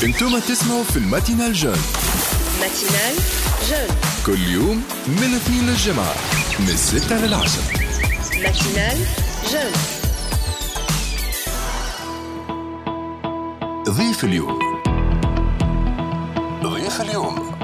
انتم تسمعوا في ال matinale jeune. matinale jeune كل يوم من الاثنين للجمعة من 6 لل10. matinale jeune. ضيف اليوم. ضيف اليوم.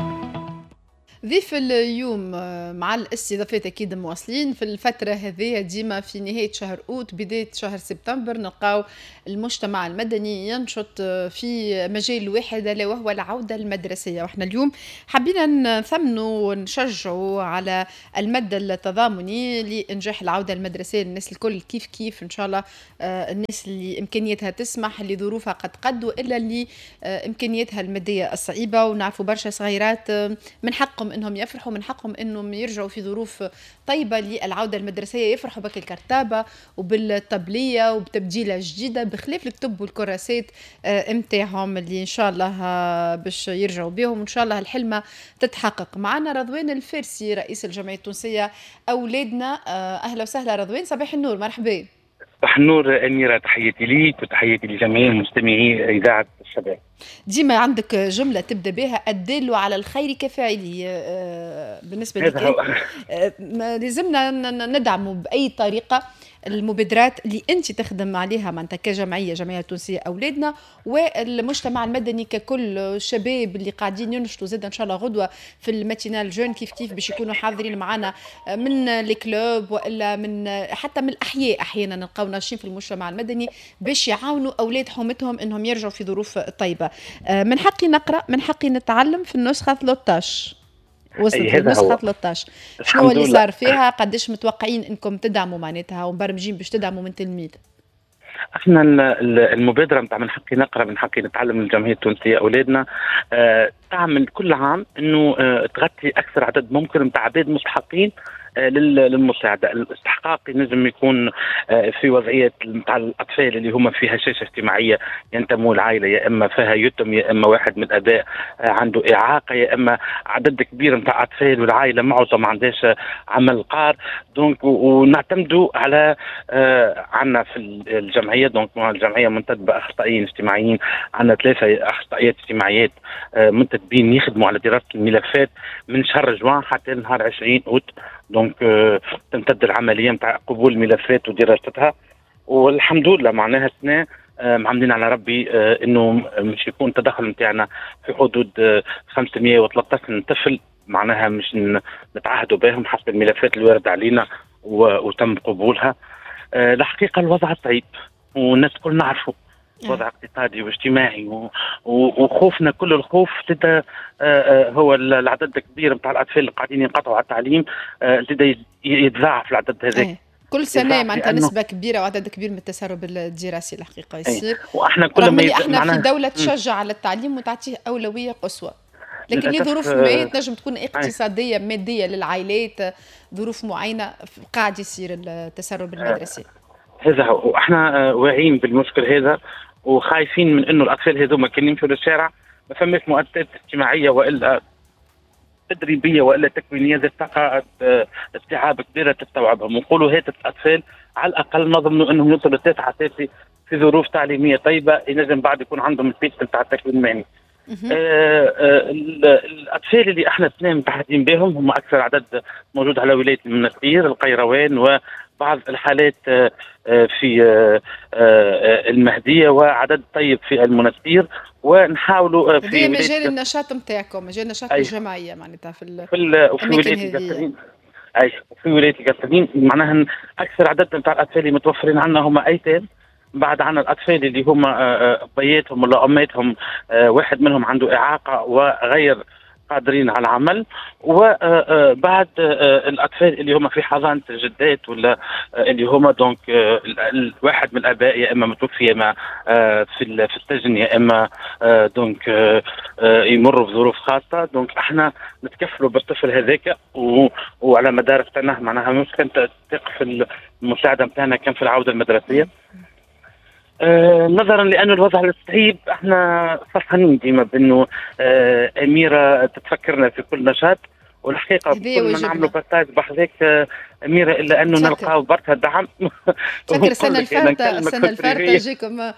ضيف اليوم مع الاستضافات اكيد مواصلين في الفترة هذه، ديما في نهاية شهر اوت بداية شهر سبتمبر نلقاو المجتمع المدني ينشط في مجال واحد الا وهو العودة المدرسية. واحنا اليوم حبينا نثمنوا ونشجعوا على المد التضامني لانجاح العودة المدرسية للناس الكل كيف كيف ان شاء الله، الناس اللي امكانياتها تسمح، اللي ظروفها قد قد، والا اللي امكانياتها المادية الصعيبه. ونعرفوا برشا صغيرات من حقهم انهم يفرحوا، من حقهم انهم يرجعوا في ظروف طيبة للعودة المدرسية، يفرحوا بك الكرتابه وبالطبليه وبتبديله جديدة بخلاف الكتب والكراسات نتاعهم اللي ان شاء الله باش يرجعوا بهم، وان شاء الله الحلمة تتحقق. معنا رضوان الفارسي رئيس الجمعية التونسية اولادنا. اهلا وسهلا رضوان، صباح النور، مرحبا. صباح النور أميرة، تحياتي ليك وتحياتي لجميع مستمعي إذاعة الشباب. ديما عندك جملة تبدأ بها، الدال على الخير كفاعله. بالنسبة لك لازمنا ندعم بأي طريقة المبادرات اللي أنت تخدم عليها معناتها كجمعية، جمعية تونسية أولادنا، والمجتمع المدني ككل، الشباب اللي قاعدين ينشطوا زاد إن شاء الله غدوة في ال matinale jeune كيف كيف باش يكونوا حاضرين معنا من les clubs وإلا من حتى من الأحياء. أحيانا نلقاو ناشطين في المجتمع المدني باش يعاونوا أولاد حومتهم إنهم يرجعوا في ظروف طيبة. من حقي نقرأ، من حقي نتعلم في النسخة 13 وصلت النسخة 13، شنو اللي صار فيها؟ قداش متوقعين انكم تدعموا معناتها ومبرمجين باش تدعموا من تلميذ؟ احنا المبادرة نتاع من حقي نقرأ من حقي نتعلم من الجمعية التونسية أولادنا تعمل كل عام انه تغطي اكثر عدد ممكن نتاع عباد مستحقين للمساعدة. الاستحقاق ينجم يكون في وضعية نتاع الأطفال اللي هما في هشاشة اجتماعية، ينتموا لعائلة يا إما فيها يتم، يا إما واحد من الآباء عنده إعاقة، يا إما عدد كبير نتاع أطفال والعائلة معظم ما عندهاش عمل قار. donc ونعتمدوا على عندنا في الجمعية، donc الجمعية منتدبة أخصائيين اجتماعيين، عندنا 3 أخصائيات اجتماعيات منتدبين يخدموا على دراسة الملفات من شهر جوان حتى نهار 20 أوت. donc تمتد العملية نتاع قبول الملفات ودراستها، والحمد لله معناها السنة معمدين على ربي انه مش يكون التدخل نتاعنا في حدود 513 طفل، معناها مش نتعهدوا بهم حسب الملفات اللي وارده علينا وتم قبولها. الحقيقة الوضع طيب والناس الكل نعرفوا وضع اقتصادي واجتماعي وخوفنا كل الخوف زاد هو العدد الكبير نتاع الاطفال اللي قاعدين ينقطعوا على التعليم، زاد يتضاعف العدد هذاك كل سنة، معناتها نسبه كبيرة وعدد كبير من التسرب الدراسي الحقيقة يصير. واحنا كل ما احنا في دولة تشجع على التعليم وتعطيه اولوية قصوى، لكن لظروف ما تنجم تكون اقتصادية مادية للعائلات، ظروف معينة قاعد يصير التسرب المدرسي. هذا هو، احنا واعيين بالمشكل هذا وخايفين من انه الاطفال هذوما كان يمشوا للشارع ما فماش مؤسسات اجتماعية والا تدريبية والا تكوينيه ذات طاقة استيعاب كبيرة تستوعبهم. ونقولوا هات الاطفال على الاقل نضمنوا انهم يوصلوا للتاسعه اساسي في ظروف تعليمية طيبة، ينجم بعد يكون عندهم ال piste نتاع التكوين المهني. الاطفال اللي احنا السنة متعهدين بهم هم اكثر عدد موجود على ولاية المنستير، القيروان، وبعض الحالات في المهدية، وعدد طيب في المنستير. ونحاولوا في مجال النشاط نتاعكم، مجال النشاط الجمعية معناتها في ولاية القصرين. اي في ولاية القصرين معناها اكثر عدد نتاع الاطفال اللي متوفرين عندنا هما ايتام. بعد عنا الاطفال اللي هما بياتهم ولا اماتهم واحد منهم عنده اعاقه وغير قادرين على العمل، وبعد الاطفال اللي هما في حضانة الجدات ولا اللي هما donc واحد من الاباء يا اما متوفي يا اما في السجن يا اما donc يمروا بظروف خاصة. donc احنا نتكفلوا بالطفل هذاك وعلى مدار السنة معناها مش كانت تقف المساعدة نتاعنا كان في العودة المدرسية. نظرا لأن الوضع الصعيب احنا فرحانين ديما بانه أميرة تتفكرنا في كل نشاط، والحقيقة كل ما نعملوا partage بحذاك اميره الا انه نلقاو برشا دعم. تفكر السنة الفارطه، السنة الفارطه جيكم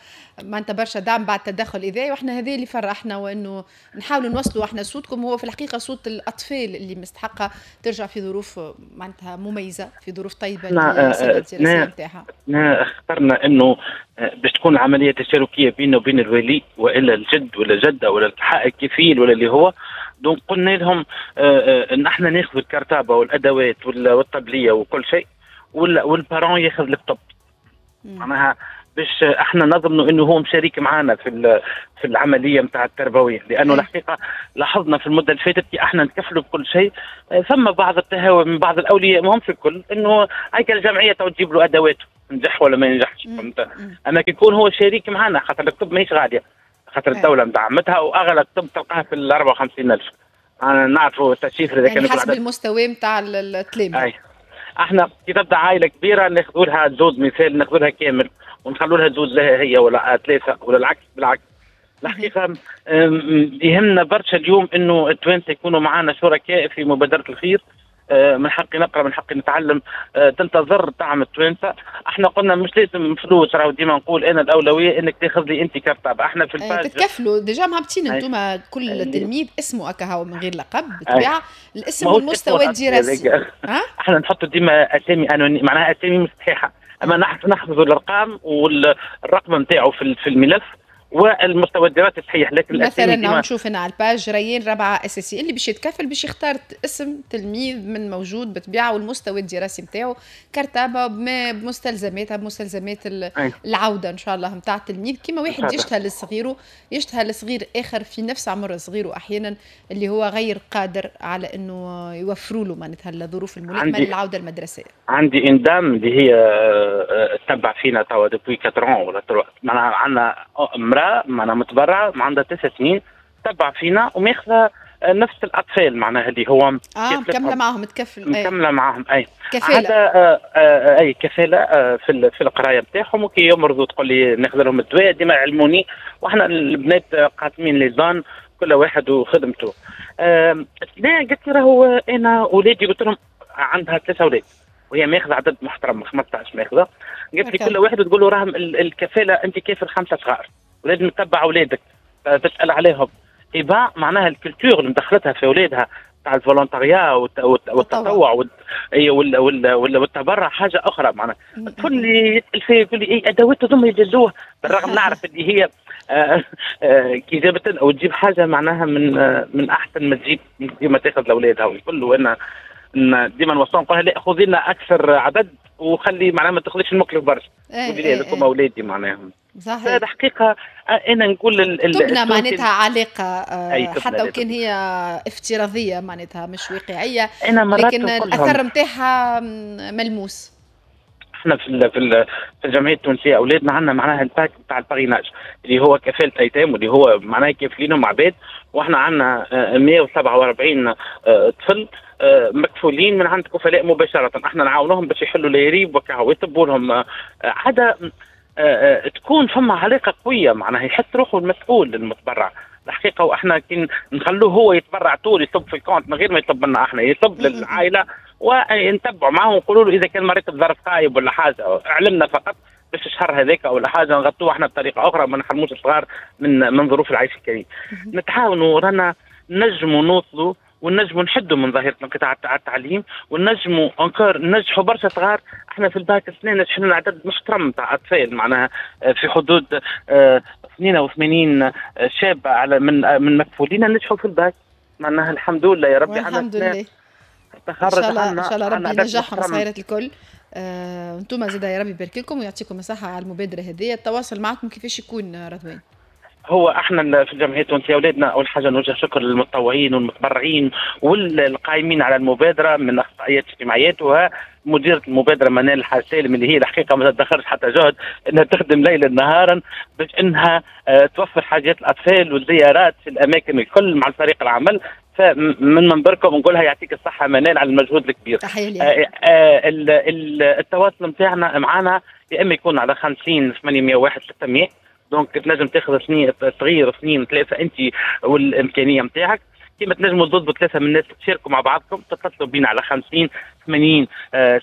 معناتها برشا دعم بعد تدخل اذاعي، واحنا هذا اللي فرحنا، وانه نحاولوا نوصلوا احنا صوتكم، هو في الحقيقة صوت الاطفال اللي مستحقه ترجع في ظروف معناتها مميزة، في ظروف طيبة للسنة الدراسية نتاعها. اخترنا انه باش تكون العملية تشاركيه بيننا وبين الولي والا الجد ولا الجدة ولا الكفيل ولا اللي هو، donc قلنا لهم ان احنا ناخذ الكرتابه والادوات والطبليه وكل شيء، وال parent ياخذ الكتب، معناها باش احنا نضمنوا انه هو مشارك معنا في العملية نتاع التربوية، لانه الحقيقة لاحظنا في المدة اللي فاتت كي احنا نتكفلوا بكل شيء ثم بعض التهاون من بعض الاولياء، ماهمش في الكل، انه هيك الجمعية تو تجيب له ادواته، نجح ولا ما ينجحش، فهمت؟ اما كي يكون هو شريك معنا، خاطر الكتب ماهيش غالية، خاطر الدولة مدعمتها، واغلى كتب تلقاها في ال 54000. انا نعرفوا ال chiffre اذا كان حسب المستوى نتاع التلاميذ. احنا كي تبدا عائلة كبيرة ناخذوا لها زوز، مثال ناخذوا لها كامل ونخلوا لها زوز لها هي ولا ثلاثة ولا العكس بالعكس. الحقيقة يهمنا برشا اليوم انه التوانسة يكونوا معنا شركاء في مبادرة الخير. من حقي نقرا، من حقي نتعلم، تنتظر دعم التوانسة. احنا قلنا مش لازم فلوس، راهو ديما نقول انا الاولوية انك تاخذ لي انت كرتابه. احنا في ال page تتكفلوا déjà مهبطين انتم كل تلميذ اسمه اكاهو من غير لقب بالطبيعة، الاسم والمستوى الدراسي. احنا نحطوا ديما اسامي anonyme، معناها اسامي مش صحيحه، اما نحفظوا الارقام والرقم نتاعو في الملف والمستوى الدراسي صحيح، لكن مثلا نشوف هنا على ال page ريان رابعه اساسي، اللي باش يتكفل باش يختار اسم تلميذ من موجود بالطبيعة والمستوى الدراسي نتاعو، كرتابه بمستلزماتها، بمستلزمات العودة ان شاء الله نتاع التلميذ. كما واحد يشتهى لصغيره، يشتهى لصغير اخر في نفس عمر صغيرة احيانا اللي هو غير قادر على انه يوفروا له معناتها الظروف الملائمة للعودة المدرسية. عندي une dame اللي هي تتبع فينا توا depuis 4 ولا معناها عندنا امراة معناها متبرعه عندها 9 سنين تبع فينا وماخذه نفس الاطفال، معناها اللي هو مكملة معهم، تكفل مكملة معهم، اي كفالة اي كفالة في القراية نتاعهم، وكي يمرضوا تقول لي ناخذ لهم الدواء، ديما يعلموني، واحنا البنات قاسمين les zones كل واحد وخدمته. لا قلت لي راهو انا ولادي، قلت لهم عندها 3 اولاد وهي ماخذه عدد محترم 15 ماخذه، قلت لي كل واحد تقول له راهم الكفاله انت كافل 5 صغار ولازم تتبع اولادك تسال عليهم. إبا معناها ال culture اللي مدخلتها في اولادها تاع ال volontariat والتطوع والتبرع حاجة اخرى. معناها الطفل اللي يسال فيه يقول لي اي ادوات هذوما يجلوه، بالرغم نعرف اللي هي كي جابت او تجيب حاجة معناها من احسن ما تجيب ديما تاخذ لاولادها والكل. وانا ديما نوصلهم نقولها لا خذي لنا اكثر عدد وخلي معناها ما تاخذيش المكلف برشا، قولي لي هذوك اولادي معناها. صحيح. الحقيقة انا نقول تبنى معناتها علاقة حتى وكان هي افتراضية معناتها مش واقعية، لكن الاثر نتاعها ملموس. احنا في الجمعية التونسية اولادنا عندنا معناها الباك نتاع ال parrainage اللي هو كفالة ايتام واللي هو معناها كافلينهم عباد، واحنا عندنا 147 طفل مكفولين من عند كفلاء مباشرة، احنا نعاونوهم باش يحلوا الهريب وكهو يطبوا لهم عادة تكون فما علاقة قوية، معناها يحس روحه المسؤول المتبرع الحقيقة. واحنا كي نخلوه هو يتبرع طول يصب في ال compte من غير ما يطلب منا احنا، يصب للعائلة ونتبعوا معاه ونقولوا له اذا كان مريت بظرف خايب ولا حاجة اعلمنا فقط باش الشهر هذاك ولا حاجة نغطوه احنا بطريقة اخرى، ما نحرموش الصغار من ظروف العيش الكريم. نتعاونوا رانا نجموا نوصلوا ونجموا نحدوا من ظاهره انقطاع التعليم، ونجموا encore ننجحوا برشا صغار. احنا في الباك السنة نجحنا عدد محترم تاع اطفال، معناها في حدود 82 شاب على من مكفولين نجحوا في الباك، معناها الحمد لله يا ربي. الحمد لله تخرج ان شاء الله ربي ينجحهم صغيرات الكل. انتم زاد يا ربي يبارك لكم ويعطيكم الصحة على المبادرة هذه. التواصل معكم كيفاش يكون رضوان؟ هو احنا في الجمعية التونسية اولادنا اول حاجة نوجه شكر للمتطوعين والمتبرعين والقائمين على المبادرة من اخصائيات اجتماعيات ومديره المبادرة منال الحاج سالم اللي هي الحقيقة ما تدخرش حتى جهد انها تخدم ليلا نهارا باش انها توفر حاجات الاطفال والزيارات في الاماكن الكل مع الفريق العمل. فمن منبركم نقولها يعطيك الصحة منال على المجهود الكبير. تحية. التواصل نتاعنا معنا يا اما يكون على 50 801 600، donc تنجم تاخذ صغير 2 3 انت والامكانيه نتاعك. كما تنجموا تضربوا ثلاثة من الناس تشاركوا مع بعضكم، تتصلوا بينا على 50 80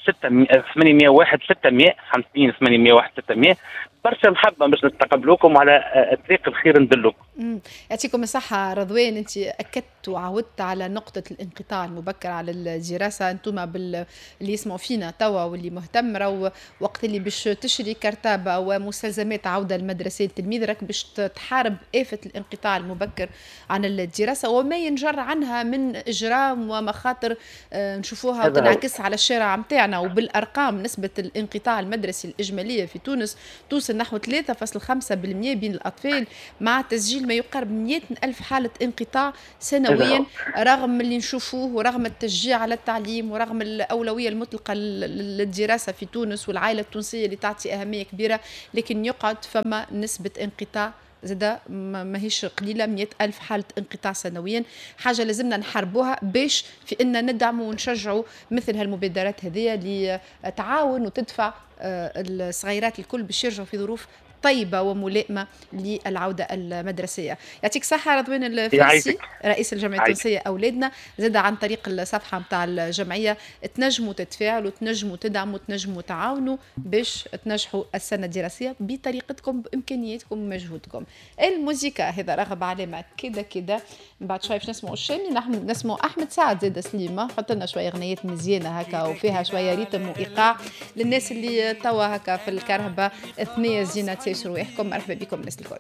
6 801 600، 50 801 600. برشا محبة باش نستقبلوكم وعلى طريق الخير ندلوكم. يعطيكم الصحة رضوان، انت اكدت وعودت على نقطة الانقطاع المبكر على الدراسه. انتم اللي يسمعوا فينا توا واللي مهتم، راهو وقت اللي باش تشري كرتابه ومستلزمات عوده المدرسية للتلميذ، راك باش تحارب آفة الانقطاع المبكر عن الدراسة وما ينجر عنها من اجرام ومخاطر نشوفوها وتنعكس على الشارع متاعنا. وبالارقام، نسبه الانقطاع المدرسي الاجمالية في تونس توصل نحو 3.5% بين الأطفال، مع تسجيل ما يقارب 100 ألف حالة انقطاع سنويا، رغم اللي نشوفوه ورغم التشجيع على التعليم ورغم الأولوية المطلقة للدراسة في تونس والعائلة التونسية اللي تعطي أهمية كبيرة، لكن يقعد فما نسبة انقطاع زادا ماهيش قليلة، 100 ألف حالة انقطاع سنويا. حاجة لازمنا نحاربوها باش في أن ندعموا ونشجعوا مثل هالمبادرات هذه اللي تعاون وتدفع الصغيرات الكل باش يرجعوا في ظروف طيبة وملائمة للعودة المدرسية. يعطيك صحة رضوان الفارسي، رئيس الجمعية التونسية أولادنا. زاد عن طريق الصفحة متاع الجمعية تنجموا تتفاعلوا، تنجموا تدعموا، تنجموا تعاونوا باش تنجحوا السنة الدراسية بطريقتكم، بإمكانياتكم ومجهودكم. الموزيكا هذا رغب علامة كده كده. من بعد شوي باش نسمعوا الشامي، نحن نسمعوا أحمد سعد زاد. سليمة حط لنا شوية غنيات مزيانة هكا وفيها شوية rythme وإيقاع للناس اللي توا هكا في الكرهبة، ثنية زينة، تسيسوا رواحكم. مرحبا بكم الناس الكل.